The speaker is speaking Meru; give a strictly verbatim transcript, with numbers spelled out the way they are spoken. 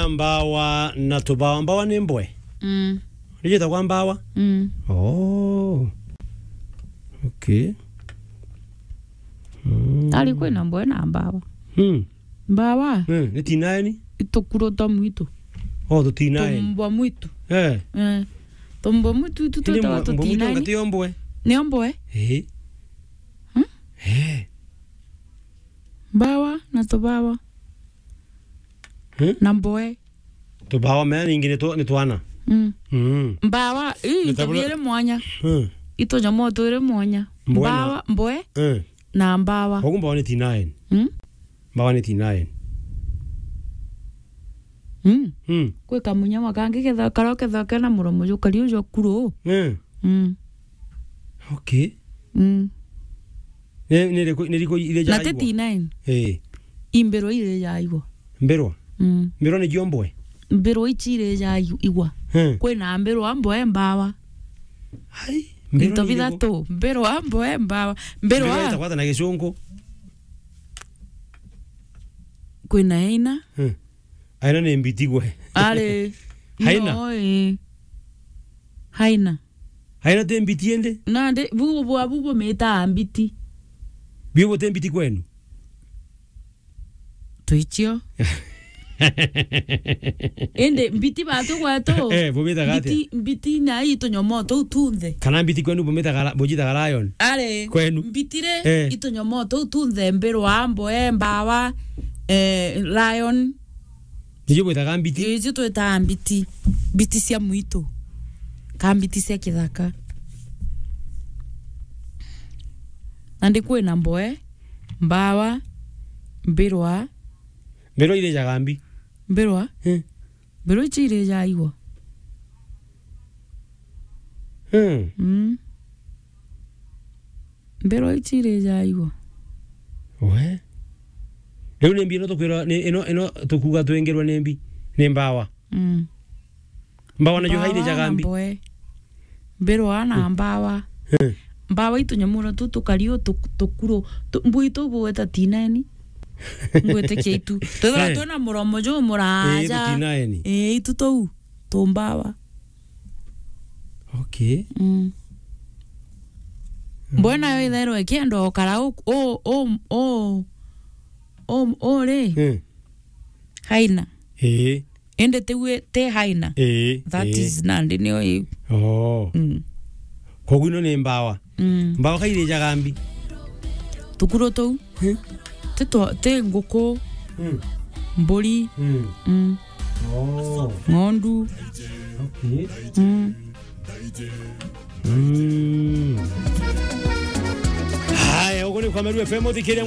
Mbawa na tubawa. Mbawa ni mbwe? Mm. Niyo itagwa mbawa? Mm. Oh. Okay. Mm. Ari kwina mbwe na mbawa. Mm. Mbawa? Mm, ni tinaeni? Itukuro twa mwitu. Oh, tutinaeni. Tumbwa mwitu. Eh. Eh. Tumbwa mwitu itu. Indi twitawa mbwa mwitu tutinaeni. Ngati yo mbwe? Ni mbwe? Eh. Hmm? Eh. Mbawa na tubawa. Hmm? Na mbwe. Tubawa mea ningi ni twa-, ni twana. Mm. Mm. Mbawa, ii, into biiri mwanya. Hmm. Ito nyomo twiri mwanya. Mbwe na mbawa, mbwe. Eh. Na mbawa. Koguo mbawa ni tinaeni. Mm? Mbawa ni tinaeni. Mm. Mm. Kwi kamunyama kangi ketha-, karia ukethagwa kena muromo jukari uju kuru. Mm. Mm. Okay. Mm. Ni, ni riku, ni riku iria na jaigwa? Ti tinaeni. Eh. I mbirwa iria jaigwa. Mbirwa? Mm. Mbirwa ni jio mbwe? Mbirwa ici iria jaigwa. Hmm. Kwina mbirwa, mbwe, mbawa. Ai, mbirwa. Into ni iriku? Bithatu. Mbirwa, mbwe, mbawa. Mbirwa. Mbirwa itagwa ata na gicungu? Kwina haina. Hmm. Haina ni mbiti gwe. Ari. Haina? No, eh. Haina. Haina ti mbiti indi? Nandi, bu, bu, bu, bumitaga mbiti. Biu buti mbiti kwenu? Twicio. Indi mbiti batu gwetu. Eh, bumitaga atia? Mbiti, mbiti na itunyomo tuu tunthe. Kana mbiti kwenu bumitaga la-, bujitaga lion? Ari. Kwenu? Mbiti ri, eh, itunyomo tuu tunthe, mbirwa, mbwe, mbawa, eh, lion. Nicio bwitaga mbiti? Icio twitaga mbiti. Mbiti cia mwitu. Ka mbiti cia kithaka. Nandi kwina mbwe, mbawa, mbirwa. Mbirwa irijaga mbi? Mbirwa? Eh. Mbirwa ici irijaga igwa. Hmm. Mm. Mbirwa ici irijaga igwa. We. Riu ni mbi ino tukwirwa, ni, ino, ino tukuga twingirwe ni mbi, ni mbawa. Mm. Mbawa najo hairijaga mbi? Mbawa na mbwe. Mbirwa na mbawa. Eh. Mbawa itunyamu na tu tukari u tu-, tukuru. Tu-, mbwi tu bweta tineni. Ngwitikia itu. Twithirwa twina muromo jumuraja. Eh, itu tinaeni. Eh, itu tuu. Tumbawa. Okay. Mm. Mbwe nayo ithairwa ikienda ukara u, u, u, u, u, u ri? Eh. Haina. Eh. Indi tiwe ti haina. Eh, that eh. Is nandi niyo iu. Oh. Mm. Koguo ino ni mbawa. Mm. Mbawa ka irijaga mbi? Tukuru tuu. Eh? Ti twa-, ti nguku, mm, mburi. Mm. Mm. Oh. Ng'ondu. Okay. Mm. Mm. Haya, ugu ni kwa Meru F M, uthikiria ngwa